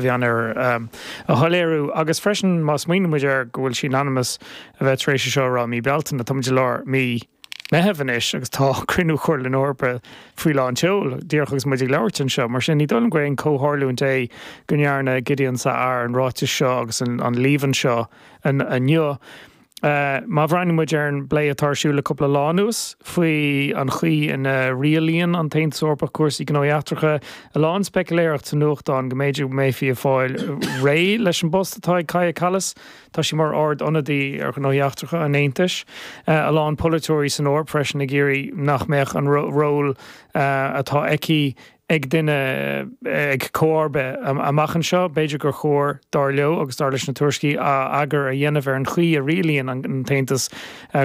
Mheánoirthear a shoiléiriú agus freisin má smaoiníonn muid air go bhfuil sí in ainm is a bheith tar éis é seo a rá i mí Bealtaine, tá muid i lár mí Meitheamh anois agus tá cruinniú Chomhairle na hEorpa faoi lán tseoil díreach agus muid ag labhairt anseo. Mar sin ní dóigh liom gur aon chomhtharlúint é go ndearna Gideon Sa'ar an ráiteas seo agus an líomhain seo inniu. Má bhreathnaíonn muid ar an bplé atá ar siúl le cúpla lá anuas faoi an chaoi ina rialaíonn an tAontas Eorpach cúrsaí gnóthaí eachtracha, a lán speicealéireacht sa nuachtán go mb'fhéidir go mbeifí ag fáil réidh leis an bpost atá ag Kaja Kallas, tá sí mar Ard-Ionadaí ar Ghnóthaí Eachtracha an Aontais, a lán polaiteoirí san Eoraip freisin ag iarraidh nach mbeadh an ról atá aici ag duine ag comharba amach anseo. B'fhéidir gur chóir, dar leo agus dar leis na tuairiscí, eagar a dhéanamh ar an chaoi a rialaíonn an tAontas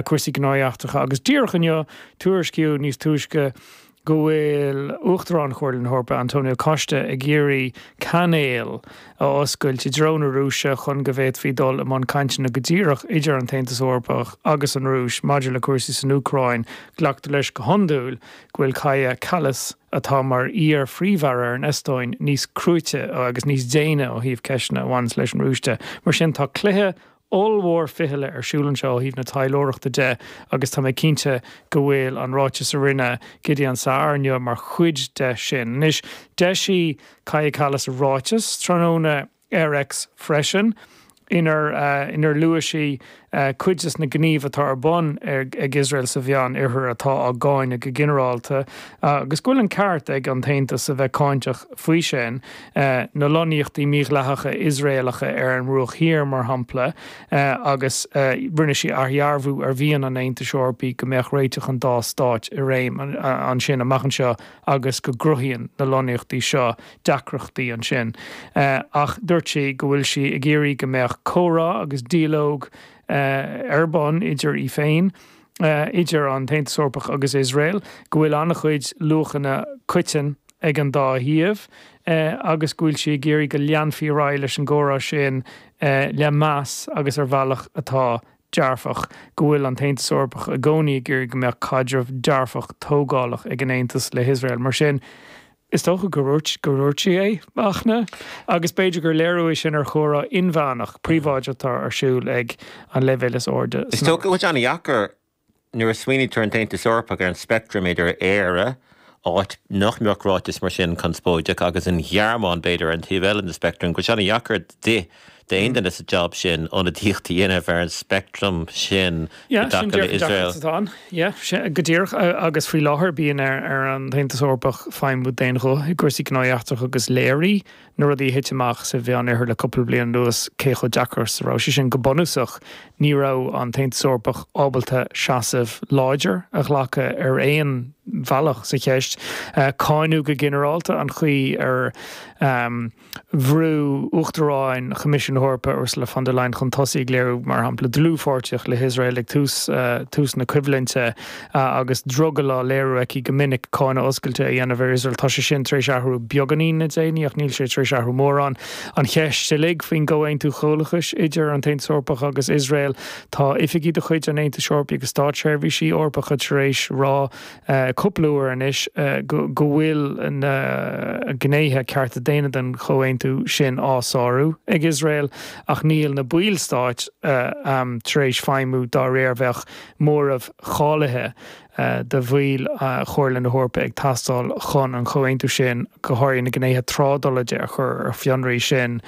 cúrsaí gnóthaí eachtracha. Agus díreach inniu, tuairiscíodh níos túisce go bhfuil Uachtarán Chomhairle na hEorpa, Antonio Costa, ag iarraidh cainéal a oscailt i dtreo na Rúise chun go bhféadfaí dul i mbun cainteanna go díreach idir an tAontas Eorpach agus an Rúis maidir le cúrsaí san Úcráin. Glactar leis go hiondúil go bhfuil Kaja Kallas, atá mar iar-phríomh-aire ar an Eastóin, níos cruaite agus níos déine ó thaobh ceisteanna a bhaineanns leis an Rúis de. Mar sin, tá cluiche ollmhór fichille ar siúl anseo ó thaobh na taidhleoireachta de agus tá mé cinnte go bhfuil an ráiteas a rinne Gideon Sa'ar inniu mar chuid de sin. Anois, d'eisigh Kaja Kallas ráiteas tráthnóna ar X freisin, inar inar luaigh sí cuid de na gnímh atá ar bun ag Iosrael sa Mheán Oirthear atá á gcáineadh go ginearálta, agus go bhfuil an ceart ag an tAontas a bheith cáinteach faoi sin, na lonnaíochtaí mídhleathacha Iosraelacha ar an mBruach Thiar, mar shampla, agus rinne sí athdhearbhú ar mhian an Aontais Eorpaigh go mbeadh réiteach an dá stáit i réim ansin amach anseo agus go gcruthaíonn na lonnaíochtaí seo deacrachtaí ansin. Ach dúirt sí go bhfuil sí ag iarraidh go mbeadh comhrá agus dialóg ar bun idir í féin, idir an tAontas Eorpach agus Iosrael, go bhfuil an-chuid luachanna coiteann ag an dá thaobh agus go bhfuil sí ag iarraidh go leanfaí ar aghaidh leis an gcomhrá sin le meas agus ar bhealach atá dearfach, go bhfuil an tAontas Eorpach i gcónaí ag iarraidh go mbeadh caidreamh dearfach tógálach ag an Aontas le hIosrael. Mar sin, Is dócha gur dhúirt gur dhúirt sí é, Fachtna, agus b'fhéidir gur léiriú é sin ar chomhrá inmheánach, príobháideach atá ar siúl ag an leibhéal is airde Is dócha go bhfuil sé an-dheacair nuair a smaoinítear ar an tAontas Eorpach ar an speictream idir Éire, áit nach mbeadh ráiteas mar sin conspóideach, agus an Ghearmáin, b'fhéidir, ar an taobh eile den speictream, go bhfuil sé an-dheacair di d'aon duine sa jab sin ionadaíocht a dhéanamh ar an speictream sin i dtaca le Iosrael. Atá ann. Yeah, sin go díreach. Agus faoi láthair bíonn ar an tAontas Eorpach feidhmiú d'aon ghuth i gcúrsaí gnóthaí eachtracha agus léirigh na rudaí a thit amach sa Mheán Oirthear le cúpla bliain anuas cé chomh deacair is a raibh sé sin. Go bunúsach ní raibh an tAontas Eorpach ábalta seasamh láidir a ghlacadh ar aon bhealach sa cheist. Cáineadh go ginearálta an chaoi ar bhrú Uachtarán Choimisiún na hEorpa, Ursula von der Leyen chun tosaigh ag léiriú, mar shampla, dlúthpháirtíocht le hIosrael ag tús tús na coimhlinte agus drogall á léiriú aici go minic cáineadh oscailte a dhéanamh ar Iosrael. Tá sé sin tar éis athrú beagáinín le déanaí ach níl sé tar éis athrú mórán. An cheist uilig faoin gcomhaontú comhlachais idir an tAontas Eorpach agus Iosrael, tá oifigigh de chuid an Aontais Eorpaigh agus státseirbhísigh Eorpacha tar éis rá cúpla uair anois go bhfuil na gnéithe cearta daonna den chomhaontú sin á sárú ag Iosrael ach níl na ballstáit tar éis feidhmiú dá réir. Bheadh móramh cáilithe de bhaill Chomhairle na hEorpa ag teastáil chun an comhaontú sin, go háirithe na gnéithe trádála de, a chur ar fionraí. Sin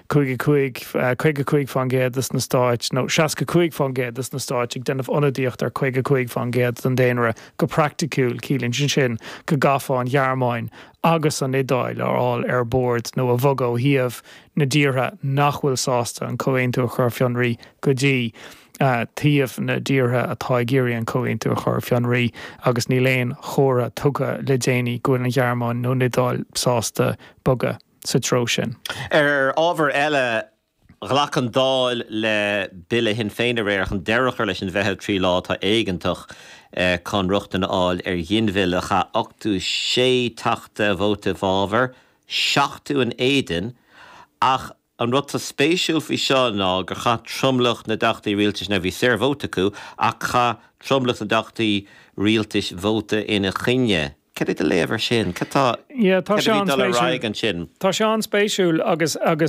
55, 55% de na stáit, nó 65% de na stáit ag déanamh ionadaíocht ar 55% den daonra go praiticiúil. Ciallaíonn sé sin go gcaithfeá an Ghearmáin agus an Iodáil a fháil ar bord nó a bhogadh ó thaobh na dtíortha nach bhfuil sásta an comhaontú a chur ar fionraí go dtí taobh na dtíortha atá ag iarraidh an comhaontú a chur ar fionraí agus níl aon chomhartha tugtha le déanaí go bhfuil an Ghearmáin nó an Iodáil sásta bogadh sa treo sin. Ar ábhar eile, ghlac an Dáil le Bille Shinn Féin aréir chun deireadh a chur leis an bhfeitheamh 3 lá atá éigeantach chun rochtain a fháil ar ghinmhilleadh. Chaith 86 Teachta vóta i bhfabhar, 70 in éadan, ach an rud atá spéisiúil faoi seo ná gur chaith tromlach na dTeachtaí Rialtais, now bhí saorvóta acu, ach chaith tromlach na dTeachtaí Rialtais vóta ina choinne. Cad é do léamh ar sin? Cad tá, Yeah, tá cad sé a bhí ag dul ar an-spéisiúil. aghaidh ansin? Tá sé an-spéisiúil agus, agus.